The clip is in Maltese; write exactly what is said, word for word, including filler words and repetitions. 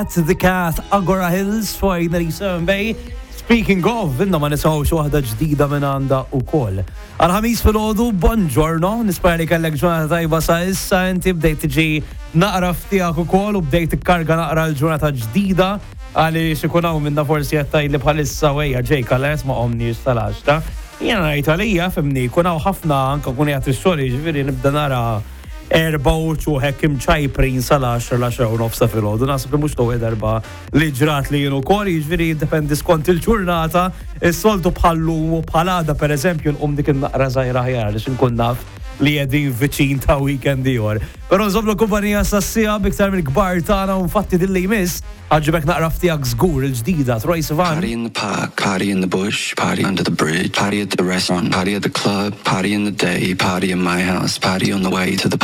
The Cat, Agora Hills, fuq ninety-seven Bay. Speaking of, inna ma nisawx waħda ġdida minn għandha ukoll. Għal-Ħamis filgħodu, buongiorno, nispera li kellek ġurnata tajba sa issa, inti bdejt tiġi naqra f'tiegħek ukoll u bdejt tikkarga naqra l-ġurnata ġdida, għaliex ikun hawn minna forsi qed tgħidli bħalissa wejja ġej kalles ma qomniex sal-għaxra. Jiena ngħid għalija, fimni, jkun hawn ħafna anke kun qiegħed ix-xogħol, jiġifieri nibda nara erba' uċuħ imċajprin sal-għaxra, l-għaxra u nofs ta' filgħodu. Naħseb li mhux l-ewwel darba li ġrat li jien ukoll, jiġifieri jiddependi skont il-ġurnata, is-soltu bħal-lum u bħal għada, pereżempju, nqum dik in-naqra żgħira aħjar għaliex inkun naf li qegħdin viċin ta' weekend ieħor. Però nżommlu kumpanija sassija biktar mill-kbar tagħna u infatti din li jmiss ħaġibek naqra f'tiegħek żgur, il-ġdida Troye Sivan. Party in the park, party in the bush, party under the bridge, party at the restaurant, party at the club, party in the day, party in my house, party on the way to the